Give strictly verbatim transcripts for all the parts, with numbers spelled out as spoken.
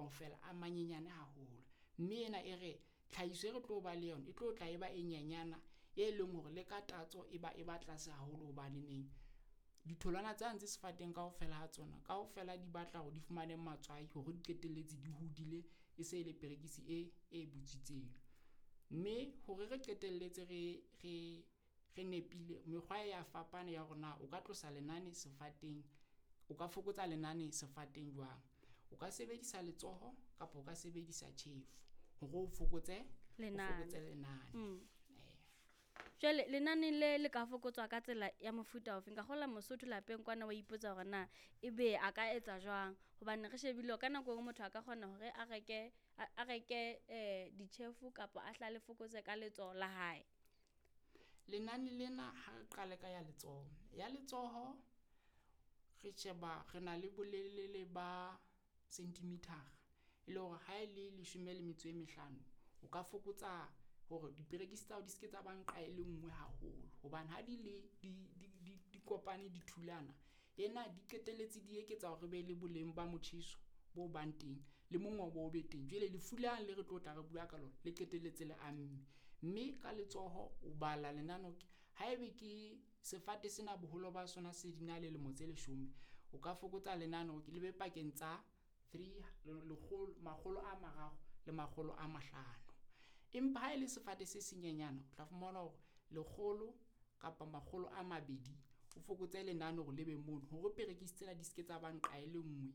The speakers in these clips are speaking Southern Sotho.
kaofela a manyenyane haholo. Mme ena e re tlhahiso e re tlo ba le yona e tlo tla e ba e nyenyana, e leng hore le ka tatso e ba e ba tlase haholo hobaneneng ditholwana tsane tse sefateng kaofela ha tsona kaofela di batla hore di fumane matswai hore di qetelletse di hodile e se le perekisi e e butswitseng. Mme hore re qetelletse re re re nepile mekgwa e ya fapana ya hore na o ka tlosa lenane sefateng, o ka fokotsa lenane sefateng jwang. O ka sebedisa letsoho kapa o ka sebedisa tjhefo hore o fokotse o Lenane. fokotse lenane. Mm. Eh. Jwale lenane le le ka fokotswa ka tsela ya mofuta ofe? Nka kgolwa Mosotho lapeng kwana wa ipotsa hore na ebe a ka etsa jwang hobane re shebile hore ka nako e nngwe motho a ka kgona hore a reke a a reke eh ditjhefu kapa a hla le fokotse ka letsoho la hae. Lenane lena ha re qale ka ya letsoho. Ya letsoho re sheba re na le bolelele ba centimeter e le hore ha e le leshome le metso e mehlano, o ka fokotsa hore diperekisi tsa hao di ske tsa ba nqa e le nngwe haholo. Hobane ha di le di di di di kopane di thulana, ena di qetelletse di eketsa hore re be le boleng ba motjheso bo bang teng le mongobo o be teng. Jwale lefu lane le re tlo tla re bua ka lona le qetelletse le amme. Mme ka letsoho o bala lenane haebe ke sefate sena boholo ba sona se di na le lemo tse leshome, o ka fokotsa lenane hore le be pakeng tsa three lekgolo makgolo a mararo le makgolo a mahlano. Empa ha e le sefate se senyenyana, o tla fumana hore lekgolo kapa makgolo a mabedi o fokotse lenane hore le be mono hore perekisi tsena di ske tsa ba nqa e le nngwe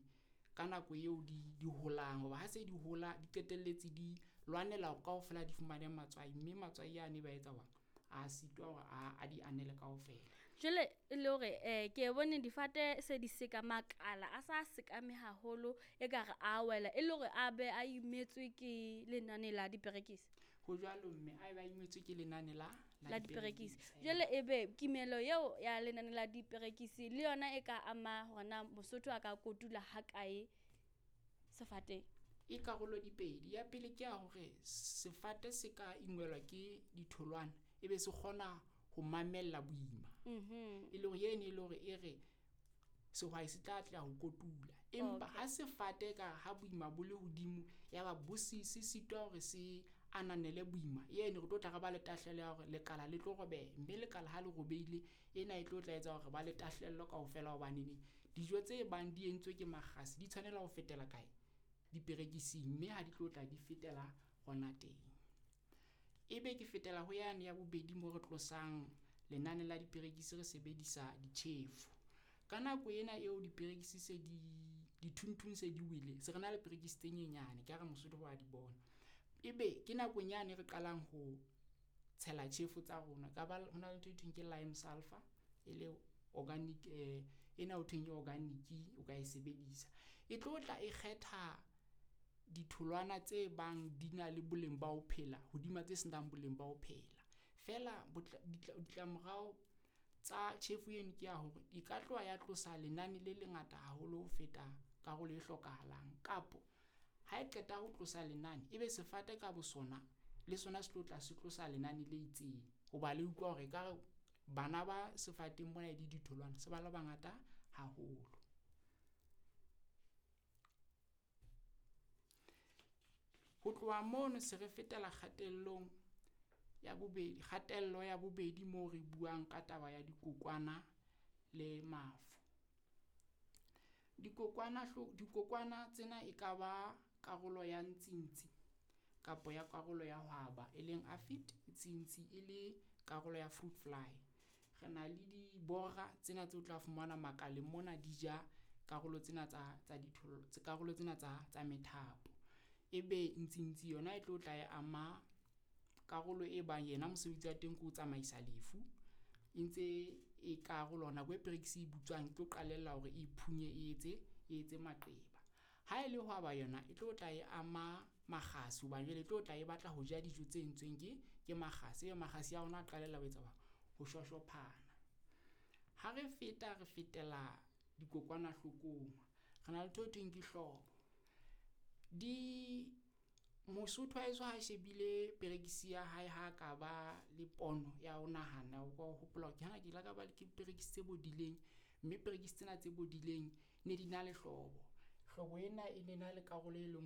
ka nako eo di di holang. Hoba ha se di hola, di qetelletse di lwanela hore kaofela di fumane matswai, mme matswai ane ba etsa hore a sitwa hore a a di anele kaofela. Jwale e le hore eh ke e bone difate se di seka makala a sa sekame haholo ekare a wela e le hore a be a imetswe ke lenane la diperekisi. Ho jwalo mme a eba imetswe ke lenane la La diperekisi. eh. Jwale ebe kimelo eo ya lenane la diperekisi le yona e ka ama hore na Mosotho a ka kotula ha kae sefateng. E karolo di pedi. Ya pele ke ya hore sefate se ka ingwelwa ke ditholwana, ebe se kgona ho mamella boima. Mhm. E le hore eno e le hore e re sehwai se tla atleha ho kotula. Empa Okay. ha sefate ka ha boima bo le hodimo, ya ba bo se se sitwa hore se ananele boima, eno re tlo tla re ba le tahlehelo ya hore lekala le tlo robeha, mme lekala ha le robehile ena e tlo tla etsa hore ba le tahlehelo kaofela hobaneneng dijo tse bang di entswe ke makgase di tshwanela ho fetela kae? Diperekising, mme ha di tlo tla di fetela hona teng. Ebe ke fetela ho yane ya bobedi moo re tlosang lenane la diperekisi re sebedisa ditjhefo. Ka nako ena eo diperekisi se di dithunthung se di wele, se re na le perekisi tse nyenyane ke ha re Mosotho wa di bona. Ebe ke nakong yane re qalang ho tshela tjhefo tsa rona ka ba hona le ntho e thweng ke lime sulphur e le organic eh ena ho thweng ke organic o ka e sebedisa. E tlo tla e kgetha ditholwana tse bang di na le boleng ba ho phela hodima tse senang boleng ba ho phela. Feela ditlamorao tsa tjhefo eno ke ya hore e ka tloha ya tlosa lenane le lengata haholo ho feta karolo e hlokahalang. Kapo ha e qeta ho tlosa lenane, ebe sefate ka bosona le sona se tlo tla se tlosa lenane le itseng. Hoba le utlwa hore ekare bana ba sefateng mona e le ditholwana se ba le bangata haholo. Ho tloha mono se re fetela kgatellong ya bobedi, kgatello ya bobedi moo re buang ka taba ya dikokwana le mafu. Dikokwana dikokwana tsena e ka ba karolo ya ntsintsi kapa ya karolo ya hwaba, e leng aphid, ntsi e le karolo ya fruit fly. Re na le dibora tsena tseo tla fumana makaleng mona di ja karolo tsena tsa tsa dithollo karolo tsena tsa tsa methapo. Ebe ntsintsi yona e tlo tla e ama karolo e bang yena mosebetsi wa teng ke ho tsamaisa lefu. E ntse e karolo nako e perekisi e butswang e tlo qalella hore e phunye e etse e etse maqeba. Ha e le hwaba yona e tlo tla e ama makgasi hobane jwale e tlo tla e batla ho ja dijo tse entsweng ke ke makgasi. Ebe makgasi a rona a qalella ho etsa ho shoshophana. Ha re feta re fetela dikokwanahlokong, re na le ntho e thweng ke hlobo. Di Mosotho wa heso ha shebile perekisi ya hae ha ka ba le pono ya ho nahana, o ka o hopola hore ke hana ke ile ka ba le ke perekisi tse bodileng, mme perekisi tsena tse bodileng ne di na le hlobo. Hlobo ena e ne na le karolo e leng.